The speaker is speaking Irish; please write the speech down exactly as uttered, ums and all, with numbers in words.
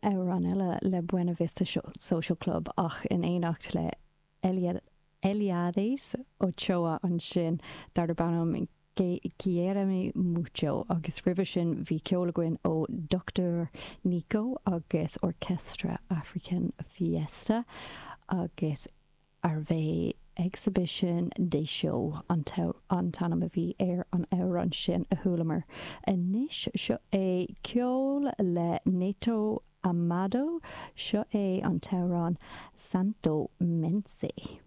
amhrán eile le Buena Vista Social Club ach in éineacht le Eliades Ochoa ansin darb ainm Quiéreme Mucho agus roimhe sin bhí ceol againn ó Dr. Nico agus Orchestra African Fiesta agus arbh Exhibition de Show an t-ainm a bhí ar an amhrán sin a chualamar. Anois seo é ceol le Neto Amado seo é an t-amhrán Santo Mense.